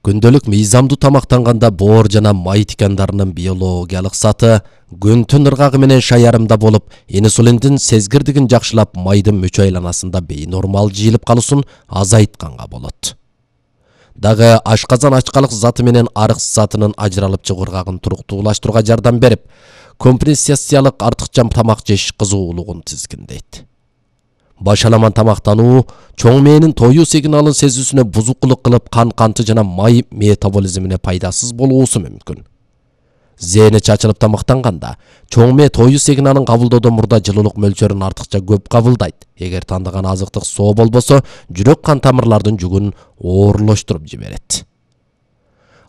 Күндөлүк мыйзамдуу тамактанганда боор жана май тикандарынын биологиялык саты күн-түн ыргагы менен шаярымда болуп, инсулиндин сезгирдигин жакшылап, майдын мөчө айланасында бейнормал жыйылып калуусун азайтканга болот. Дагы ашказан ачкалык заты менен арык затынын ажыралып чыгуу ыргагын туруктуулаштырууга жардам берип, компенсациялык артыкча тамак жеш кызуулугун тизгиндейт. Башаламан тамактануу чоң мээнин тоюу сигналын сезүүсүнө бузукулук кылып, кан жана май метаболизмине пайдасыз болуусу мүмкүн. Зээни чачылып тамактанганда чоң мээ тоюу сигналын кабылдоодон мурда жылуулук мөлчөрүн артыкча көп кабылдайт. Эгер тандаган азыктык соо болбосо, жүрөк кан тамырлардын жүгүн оорлоштуруп жиберет.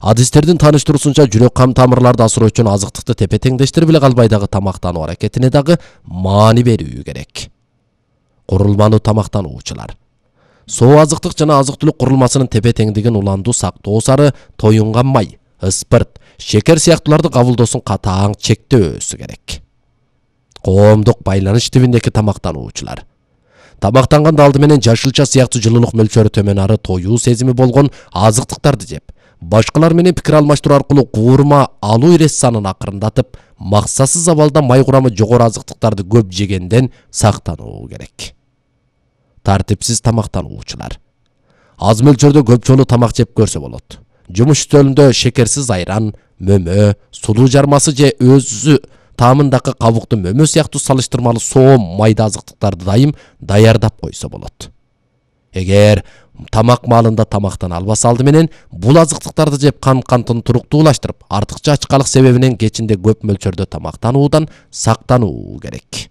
Адистердин тааныштыруусунча, жүрөк кан тамырларды асыроо үчүн азыктыкты тепе-теңдештирип эле калбай дагы тамактануу аракетине дагы маани берүү керек. Курулмануу тамактануучулар. Соо азыктык жана азык-түлүк курулмасынын тепе-теңдигин уландуу сактоо сары тоюнган май, ыспырт, шекер сыяктууларды кабылдоосун катаң чектөөсү керек. Коомдук байланыш тибиндеги тамактануучулар. Тамактанганда алды менен жашылча сыяктуу жылуулук мөлчөрү төмөн ары тоюу сезими болгон азыктыктарды жеп, башкалар менен пикир алмаштыруу аркылуу куурма алуу ирес санын акырындатып, максатсыз абалда май курамы жогору азыктыктарды көп жегенден сактануу керек. Тартипсиз тамактануучулар. Аз мөлчөрдө көп жолу тамак жеп көрсө болот. Жумуш стөлүндө шекерсиз айран, мөмө, сулуу жармасы же өзү таамындагы кабуктуу мөмө сыяктуу салыштырмалуу соо майда азыктыктарды дайым даярдап койсо болот. Эгер тамак маалында тамактана албаса, алды менен бул азыктыктарды жеп кантын туруктуулаштырып, артыкча ачкалык себебинен кечинде көп мөлчөрдө тамактануудан сактануу керек.